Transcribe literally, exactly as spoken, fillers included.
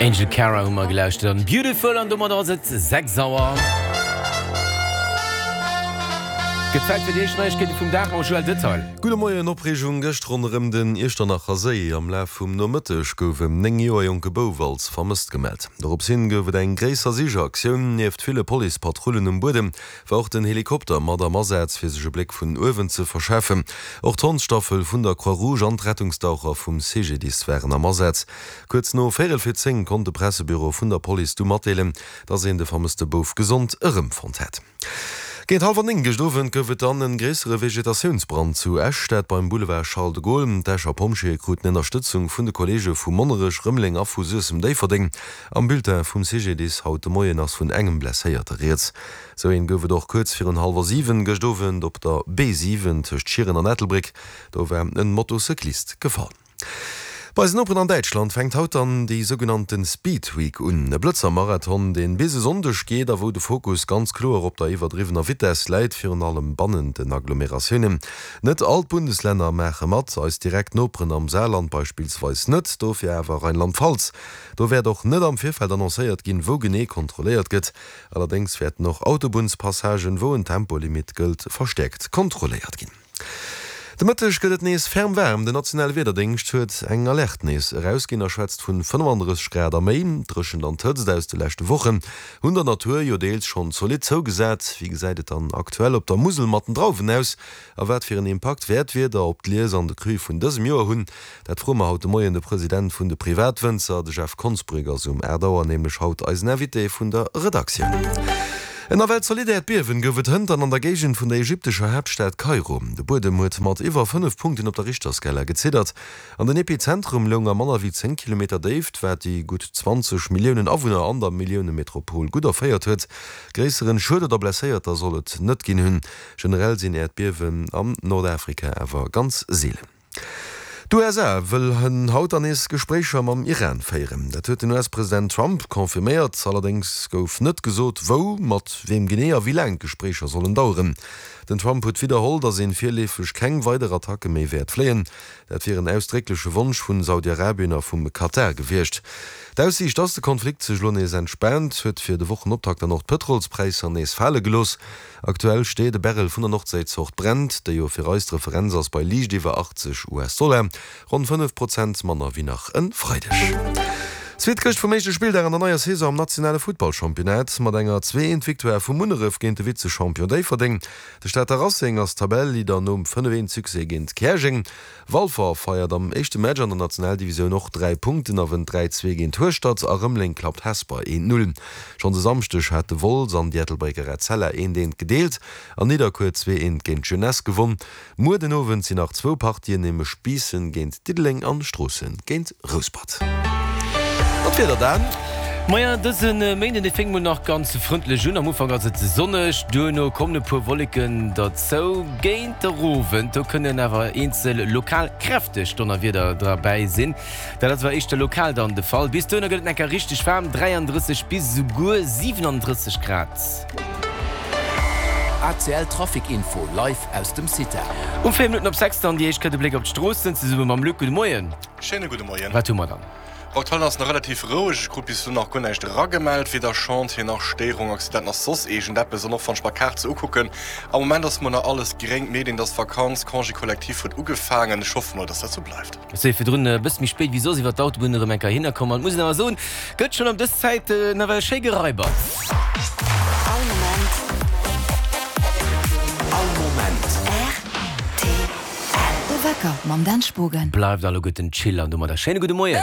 Angel Cara hu mer gelauschtert an Beautiful an domat ass et sechs Auer. Gëtt Zäit fir déi éischt Neiegkeete vum Dag mam Joël Detail. Gudde Moien, Opreegung gëscht ronderëm den Iechternacher Séi. Am Laf vum Nomëtteg gouf en néng Joer jonke Bouf als vermësst gemellt. Dorops hin gouf et eng gréisser Sichaktioun. Nieft ville Policepatrullen um Buedem war och den Helikopter mat am Asaz, fir sech e Bléck vun uewen ze verschafen. Och d'Hondsstaffel vun der Croix-Rouge an d'Rettungsdaucher vum C G D I S waren am Asaz. Kuerz no véierel vir zéng konnt de Pressebüro vun der Police du matdeelen, dass een de vermësste Bouf gesond erëmfonnt hätt. Géint hallwer néng gëscht Owend gouf et dann en gréissere Vegetatiounsbrand zu Esch, dat beim Boulevard Charles de Gaulle. D'Escher Pompjeeë kruten Ënnerstëtzung vun de Kolleege vu Monnerech, Rëmeleng a vu Suessem-Déifferdeng. Am Bulletin vum C G D I S haut de Moien ass vun engem Blesséierte rieds. Sou een gouf et och kuerz virun hallwer siwen gëscht Owend op der B siwen tëscht Schieren an Ettelbréck. Do war en Motocyclist gefall. Bei eisen Noperen an Däitschland fänkt haut dann déi sougenannten Speed Week un. E Blëtzer-Marathon, deen bis e Sonndeg geet a wou de Fokus ganz kloer op der iwwerdriwwener Vitess läit, virun allem bannent den Agglomeratiounen. Net all d'Bundeslänner maache mat, eis direkt Noperen am Saarland beispillsweis net, dofir awer Rheinland-Pfalz. Do wäert och net am Virfeld annoncéiert ginn, wou genee kontrolléiert gëtt. Allerdéngs wäerten och Autobunnspassagen, wou en Tempolimit gëllt, verstäerkt kontrolléiert ginn. De Mëtteg gëtt et nees ferm waarm. Den nationale Wiederdéngscht huet eng Alerte nees erausginn a schwätzt vun fënnefandrësseg Grad a méi. D'Dréchent an d'Hëtzt aus de leschte Wochen hunn der Natur jo deels schonn zolidd zougesat. Wéi gesäit et dann aktuell op der Musel mat den Drauwen aus a wat fir en Impakt wäert d'Wieder op d'Lies an de Cru vun dësem Joer hunn? Dat froe mer haut de Moien de President vun de Privatwënzer. De Jeff Konsbrück ass um aacht Auer nämlech haut eisen Invité vun der Redaktioun. En nawell zolidd Äerdbiewen gouf et hënt an der Géigend vun der ägyptescher Haaptstad Kairo. De Buedem huet mat iwwer fënnef Punkten op der Richterskala geziddert. An den Epizentrum loung a manner wéi zéng Kilometer Déift, wat déi gutt zwanzeg Milliounen Awunner an der Milliounemetropol gutt erféiert huet. Gréisseren Schued oder Blesséierter soll et net ginn hunn. Generell sinn Äerdbiewen am Nordafrika awer ganz seelen. D'U S A wëllen haut dann nees Gespréicher mam Iran féieren. Dat huet den U S-President Trump confirméiert. Allerdéngs gouf net gesot, wou, mat weem genee a wéi laang d'Gespréicher sollen daueren. Den Trump huet widderholl, datt een virleefeg keng weider Attacke méi wäert fléien. Dat wier en ausdréckleche Wonsch vun Saudi-Arabien a vum Katar gewiescht. D'Aussiicht, datt de Konflikt sech elo nees entspaant, huet fir de Wochenoptakt dann och d'Pëtrolspräisser nees fale gelooss. Aktuell steet e Barrel vun der Nordséizort Brent, déi jo fir eis d'Referenz ass, bei liicht iwwer achtzeg U S-Dollar, ronn fënnef Prozent manner wéi nach e Freideg. Zweet Këscht vum éischte Spilldag an der neier Saison am nationale Futtballchampionnat mat enger zwee eent Victoire vu Munneref géint de Vizechampion Déifferdeng. De Stater Racing ass Tabelleleader nom fënnef eent Succès géint Käerjeng. Walfer feiert am éischte Match an der Nationaldivisioun och dräi Punkten a wënnt dräi zwee géint Hueschtert a Rëmeleng klappt Hesper eent null. Schonns e Samschdeg hate Wolz an déi Ettelbrécker Etzella eent eent gedeelt an Nidderkuer zwee eent géint d'Jeunesse gewonn. Muer den Owend sinn nach zwou Partien, nämlech Biissen géint Diddeleng an Stroossen géint Rouspert. An d'Wieder dann? Maja, dëse Méinden, dee fänkt mol nach ganz frëndlech un. Am Ufank ass et sonneg, duerno kommen e puer Wolleken derzou. Géint de Owend, do kënnen awer eenzel lokal kräfteg Donnerwieder derbäi sinn. Dat ass awer éischter lokal dann de Fall. Bis dohinner gëtt et enker richteg waarm, dräiandrësseg bis esouguer siwenandrësseg Grad. A C L Trafic Info live aus dem CITA. Um véier Minutten op sechs dann déi éischt Kéier de Bléck op d'Stroossen zesumme mam Luc. Gudde Moien. Schéine gudde Moien. Wat hu mer dann? Aktuell ass nach relativ roueg, ech krut bis elo nach guer näischt eragemellt, weder Chantier nach Stéierung, Accident nach soss iergendeppes. An och wann ech mer d'Kaart sou ukucken, am Moment ass mol nach alles gréng. D'Medien, et ass Vakanz, Congé collectif huet ugefaangen. Ech hoffe mol, dass dat sou bleift. Ech si virdrun e bësse méi spéit wéi soss iwwer d'Autobunn erëm eng Kéier hinnerkomm an et muss een awer soen, gëtt schonn ëm dës Zäit nawell schéi geraibert. All Moment. All Moment. R T L. De Wecker mam Dan Spogen. Bleift alleguerten chill an domadder schéine gudde Moien.